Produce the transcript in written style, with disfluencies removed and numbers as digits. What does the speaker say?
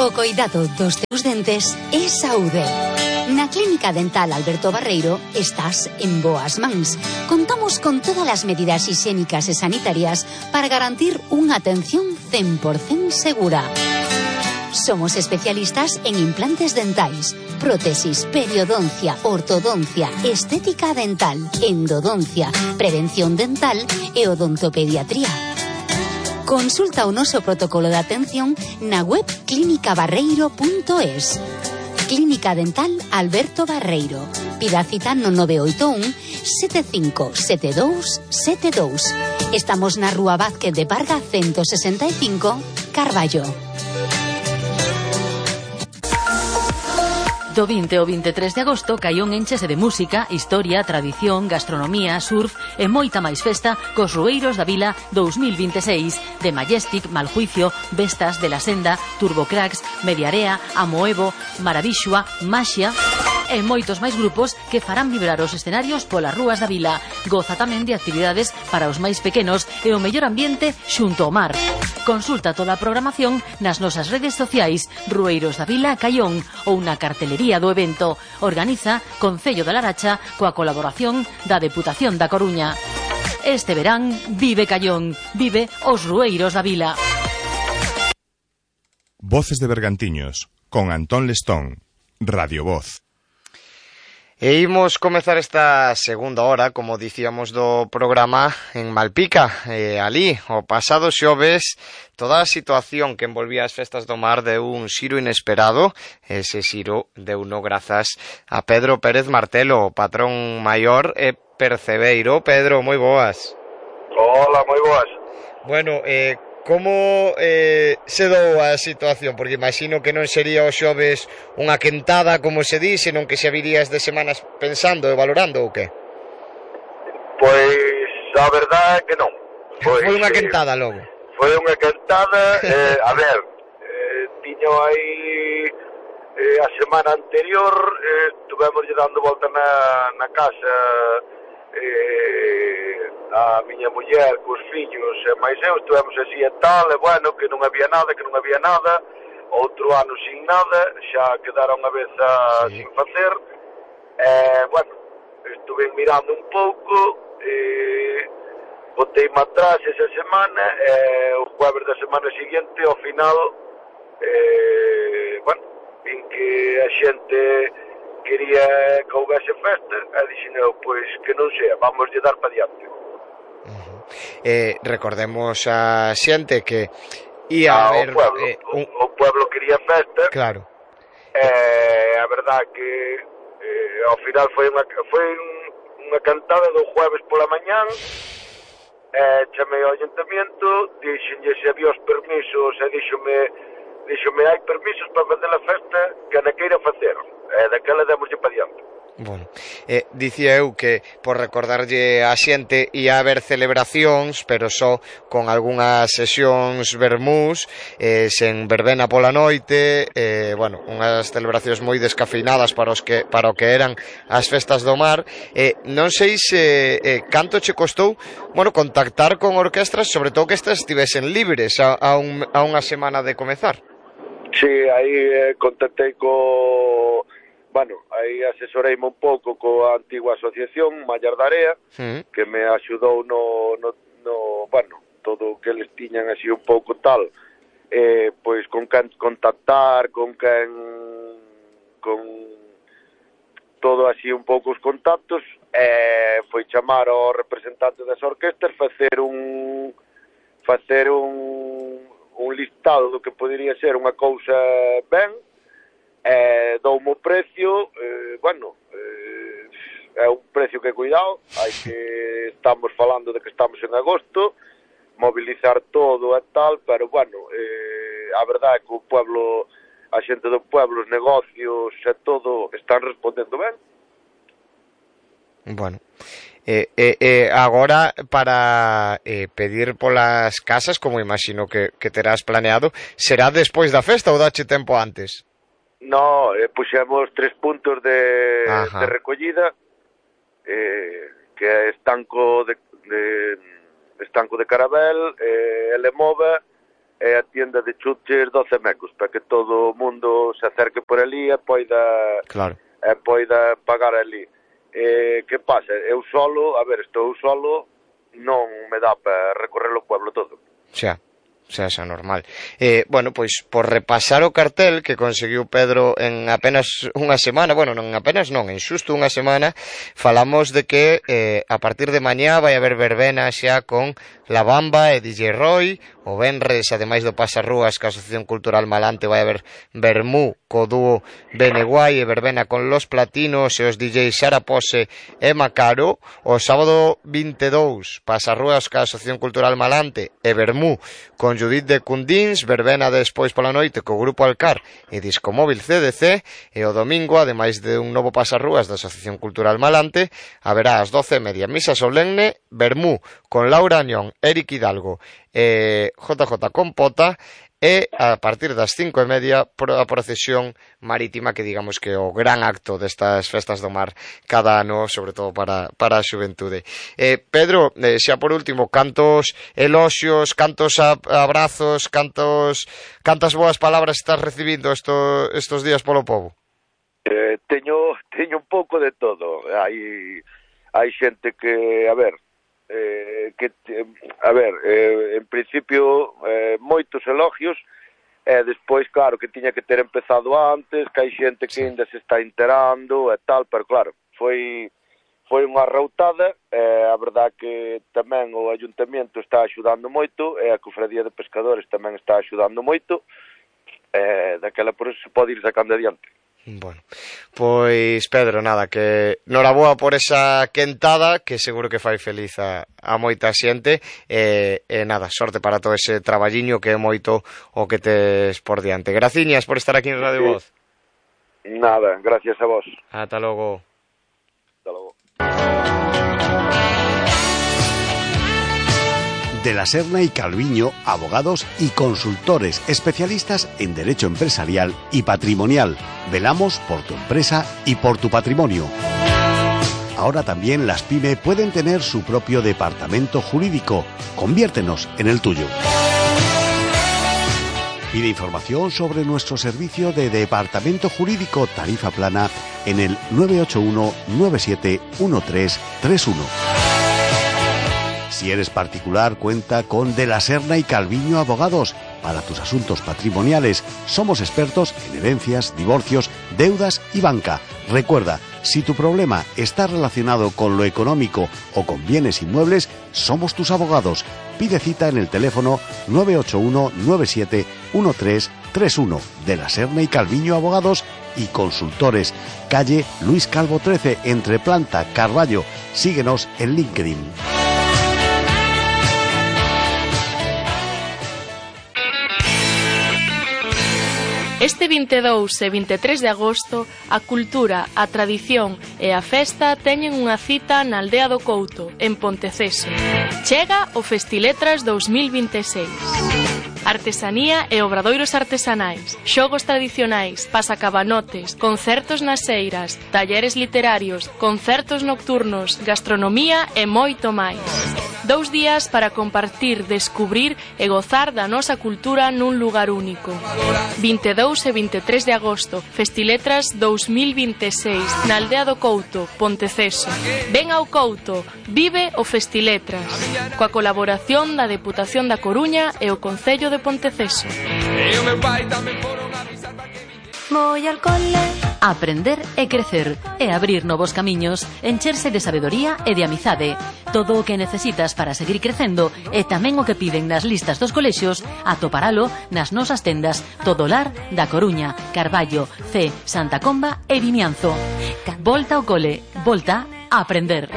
O coidado dos teus dentes é saúde. Na Clínica Dental Alberto Barreiro estás en boas mans. Contamos con todas as medidas higiénicas e sanitarias para garantir unha atención 100% segura. Somos especialistas en implantes dentais, prótesis, periodoncia, ortodoncia, estética dental, endodoncia, prevención dental e odontopediatría. Consulta o noso protocolo de atención na web clinicabarreiro.es. Clínica Dental Alberto Barreiro. Pida cita no 981 757272. Estamos na Rúa Vázquez de Parga 165, Carballo. Do 20 ao 23 de agosto, Caión enchese de música, historia, tradición, gastronomía, surf e moita máis festa cos Rueiros da Vila 2026 de Majestic, Maljuicio, Vestas, De la Senda, Turbocracks, Mediarea, Amoevo, Maravixua, Maxia e moitos máis grupos que farán vibrar os escenarios polas rúas da vila. Goza tamén de actividades para os máis pequenos e o mellor ambiente xunto ao mar. Consulta toda a programación nas nosas redes sociais Rueiros da Vila Caión ou na cartelería do evento. Organiza Concello da Laracha coa colaboración da Deputación da Coruña. Este verán vive Caión, vive os Rueiros da Vila. Voces de Bergantiños con Antón Lestón, Radio Voz. E imos comezar esta segunda hora, como dicíamos do programa, en Malpica. Ali, o pasado xoves, toda a situación que envolvía as festas do mar deu un xiro inesperado. Ese xiro deu no grazas a Pedro Pérez Martelo, o patrón maior e percebeiro. Pedro, moi boas. Hola, moi boas. Bueno, como se dou a situación? Porque imagino que non sería o xoves unha quentada, como se di, senón que xa virías de semanas pensando e valorando ou que? Pois a verdade é que non. Foi unha quentada logo. Foi unha quentada, a ver, tiño aí a semana anterior, estuvemos dando volta na casa, a miña muller, cos fillos e máis eu, estuvemos así e tal, e bueno, que non había nada, outro ano sin nada, xa quedaron a vez sin facer, bueno, estuve mirando un pouco, botei-me atrás esa semana, o jueves da semana seguinte, ao final, bueno, vin que a xente quería que houvese festa, e dixen eu, pois que non sea, vamos lle dar pa diante. Recordemos a xente que ia a haber o pueblo quería festa. Claro. A verdade que ao final foi unha cantada do jueves pola mañán. Chamei ao ayuntamiento, dixenlle se había os permisos e díxome hai permisos para facer a festa que na queira facer. Daquela demoslle pa diante. Bueno, dicía eu que por recordarlle a xente ia haber celebracións, pero só con algunhas sesións vermús, sen verbena pola noite, bueno, unhas celebracións moi descafeinadas para o que eran as festas do mar. Non sei se canto che costou, bueno, contactar con orquestras, sobre todo que estas estivesen libres a unha semana de comezar. Sí, aí contactei bueno, aí asesoreime un pouco coa antigua asociación Mallar da Area, que me axudou no bueno, todo o que eles tiñan así un pouco tal, pois con quen contactar, con todo así un pouco os contactos, foi chamar ao representante das orquestas, facer un listado do que podería ser unha cousa ben, doumo o precio, bueno, é un precio que cuidado, hai que estamos falando de que estamos en agosto, mobilizar todo e tal, pero bueno, a verdade é que o pueblo, a xente do pueblo, os negocios e todo están respondendo ben. Bueno, agora para pedir polas casas, como imagino que terás planeado, será despois da festa ou dache tempo antes? No, puxemos 3 puntos de recollida, que é Estanco de Carabel, Elemova é a tienda de chuches 12 mecos, para que todo o mundo se acerque por ali e poida pagar ali. Que pasa? Eu solo, estou solo, non me dá para recorrer o pueblo todo. Xa normal. Bueno, pois por repasar o cartel que conseguiu Pedro en apenas unha semana, en xusto unha semana, falamos de que a partir de mañá vai haber verbena xa con La Bamba e DJ Roy. O venres, ademais do Pasarrúas, que a Asociación Cultural Malante, vai haber vermú co dúo Beneguai e verbena con Los Platinos e os DJs Sara Pose e Macaro. O sábado 22, Pasarrúas ca Asociación Cultural Malante e vermú con Judith de Cundins, verbena despois pola noite co Grupo Alcar e Discomóvil CDC. E o domingo, ademais de un novo Pasarrúas da Asociación Cultural Malante, haberá ás 12:30 misa solemne, vermú con Laura Añón, Eric Hidalgo e JJ Compota, e a partir das 5:30 a procesión marítima, que digamos que é o gran acto destas festas do mar cada ano, sobre todo para a xuventude. Pedro, xa por último, cantos eloxios, cantos abrazos, cantas boas palabras estás recibindo estos días polo pobo? Teño un pouco de todo. Hai xente que, en principio moitos elogios, e despois claro que tiña que ter empezado antes, que hai xente que ainda se está enterando e tal, pero claro, foi unha arroutada. A verdad que tamén o Ayuntamiento está axudando moito, e a Cofradía de Pescadores tamén está axudando moito, daquela por eso se pode ir sacando adiante. Bueno, pois Pedro, nada, que noraboa por esa quentada, que seguro que fai feliz a moita xente, e nada, sorte para todo ese traballiño que é moito o que tes por diante. Graciñas por estar aquí en Radio Voz. Nada, gracias a vos. Ata logo. Hasta logo. De la Serna y Calviño, abogados y consultores especialistas en derecho empresarial y patrimonial. Velamos por tu empresa y por tu patrimonio. Ahora también las PYME pueden tener su propio departamento jurídico. Conviértenos en el tuyo. Pide información sobre nuestro servicio de departamento jurídico tarifa plana en el 981 97 1331. Si eres particular, cuenta con De la Serna y Calviño Abogados. Para tus asuntos patrimoniales, somos expertos en herencias, divorcios, deudas y banca. Recuerda, si tu problema está relacionado con lo económico o con bienes inmuebles, somos tus abogados. Pide cita en el teléfono 981 97 1331. De la Serna y Calviño Abogados y Consultores. Calle Luis Calvo 13, entre Planta, Carballo. Síguenos en LinkedIn. Este 22 e 23 de agosto, a cultura, a tradición e a festa teñen unha cita na Aldea do Couto, en Ponteceso. Chega o Festiletras 2026. Artesanía e obradoiros artesanais, xogos tradicionais, pasacabanotes, concertos nas eiras, talleres literarios, concertos nocturnos, gastronomía e moito máis. 2 días para compartir, descubrir e gozar da nosa cultura nun lugar único. 22 e 23 de agosto, Festiletras 2026, na Aldea do Couto, Ponteceso. Ven ao Couto, vive o Festiletras, coa colaboración da Deputación da Coruña e o Concello de Ponteceso. Voy al cole. Aprender e crecer e abrir novos camiños, encherse de sabedoría e de amizade. Todo o que necesitas para seguir crecendo e tamén o que piden nas listas dos colexios, atoparalo nas nosas tendas Todolar da Coruña, Carballo, C, Santa Comba e Vimianzo. Volta ao cole, volta a aprender.